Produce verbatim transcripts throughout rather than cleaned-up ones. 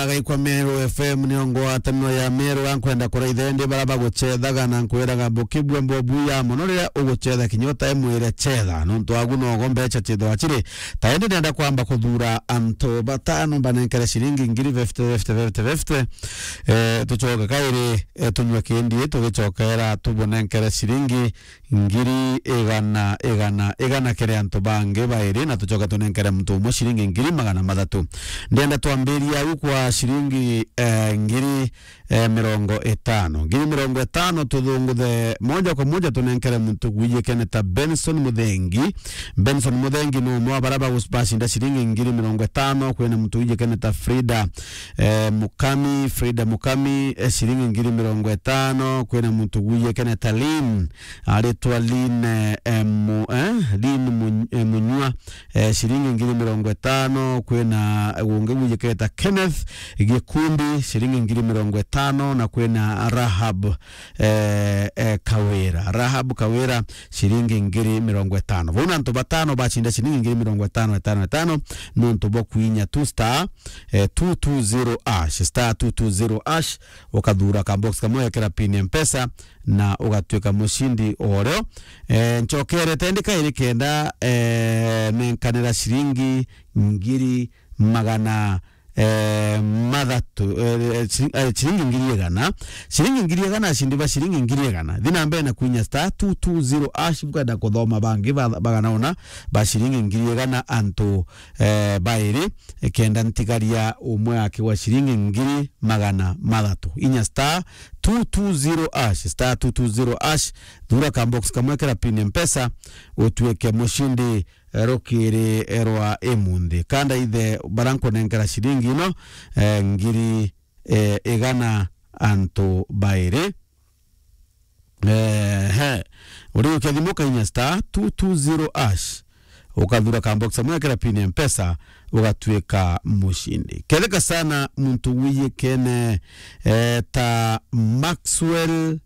Agaikwa Meru F M nio ngwataniro ya Meru, ankwenda kuraitha indi bara bagucethaga na nkwiraga bukibua mbobu ya mono riria ugucetha kinya utai mwire cetha, nontu agu nogo mbeca cithwa ciri. Ta indi nenda kwamba kuthura antu batano mbanenkere ciringi ngiri fifty, fifty, fifty, fifty. Eh, tucoke kairi, eh, tunywe kindi, tugicokera tubunenkere ciringi ngiri igana, igana, igana kiri antu bangi bairi, na tucoke tunenkere muntu umwe ciringi ngiri magana mathatu. Ndienda twambiria au kwa ciringi, eh, ngiri, eh, mirongo itano. Ngiri mirongo itano tuthunguthe moja kwa moja tunenkere muntu gwijikene ta Benson Muthengi. Benson Muthengi ni umwe wa bara bagus-, bacinda ciringi ngiri mirongo itano. Kwina muntu gwijikene ta Frida, eh, Mukami, Frida Mukami, eh, ciringi ngiri mirongo itano. Kwina muntu gwijikene ta Lin, aritwa Lin, eh, eh, Mu-, eh, Lin Mu-, eh, Munyua, eh, ciringi ngiri mirongo itano. Kwina ungi gwijiketa Kenneth Gikundi, ciringi ngiri mirongo itano, na kwina Rahab, eh, eh, Kawira. Rahab Kawira, ciringi ngiri mirongo itano. Vau na antu batano bacinda ciringi ngiri mirongo itano, itano, itano, nontu bwa kuinya tu star, eh, two two zero hash, star two two zero hash, ukathura ka box kamwe, wekera pin ya Mpesa, na ugatuika mucindi o rio. Eh, ncokerete ndi kairi kenda, eh, nenkanira ciringi ngiri magana, eh, mathatu, eh, eh, ciri-, eh, ciringi ngiri igana. Ciringi ngiri igana, acindi ba ciringi ngiri igana. Thi na mbere na kuinya star two two zero hash, bukwenda kuthoma bangi ba-, bagana ona ba ciringi ngiri igana antu, eh, bairi, eh, kenda ntigaria umwe akigwa ciringi ngiri magana mathatu. Inya star two two zero hash, star two two zero hash, thura ka box kamwe, kira pin ya Mpesa, utuike mucindi, eh, rukiri, eh, rwa imunthi. Kanda ithe bara nkunenkera ciringi ino, eh, ngiri, eh, igana antu bairi. Ehe. Uriukia thimu ukainya star two two zero hash. Ukathura ka box amwe, wekera pin ya Mpesa, ugatuika mucindi. Ketheka sana muntu wiyikene, eh, ta Maxwell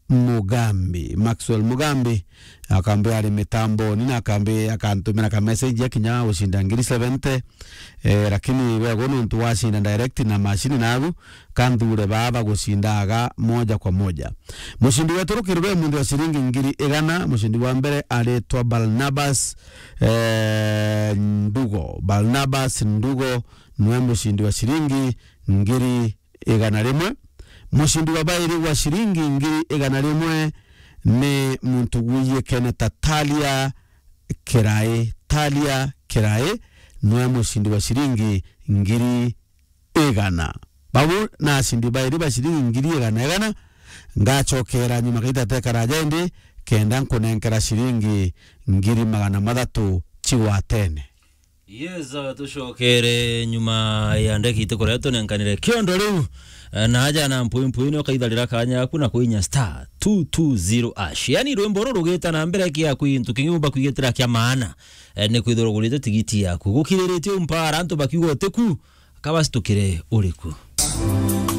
Mugambi. Maxwell Mugambi, akambe ari mitamboni na akambe akantumira ka message ya kinya ucinda ngiri seventy. Eh, lakini wego nontu wacinda direct na machine nagu, kanthure baa bagucindaga moja kwa moja. Mucindi wetu rukiri rwe munthi wa ciringi ngiri igana, mucindi wa mbere aritwa Barnabas, eh, Ndugo. Barnabas Ndugo niwe mucindi wa ciringi ngiri igana rimwe. Mucindi wa bairi wa ciringi ngiri igana rimwe ni muntu wiyikene ta Talia Kirai. Talia Kirai niwe mucindi wa ciringi ngiri igana. Bau na acindi bairi ba ciringi ngiri igana igana, ngacokera nyuma kaita tekaraja indi, kenda nkunenkera ciringi ngiri magana mathatu cigwatene. Yes, uh, tucokere nyuma ya ndagika itikurira tunenkanire kiondo riu, eh, na aja na mpui mpui ni ukaitharira kanya yaku na kuinya star two two zero hash. Yani rwimbo ruru rugita na mbere kia kwintu kingi umba kwigitira kia maana, eh, ni kwithirwa ugurite tigiti yaku. Gukiriritie umpara antu bakiuga utiku, kabacitukire uriku.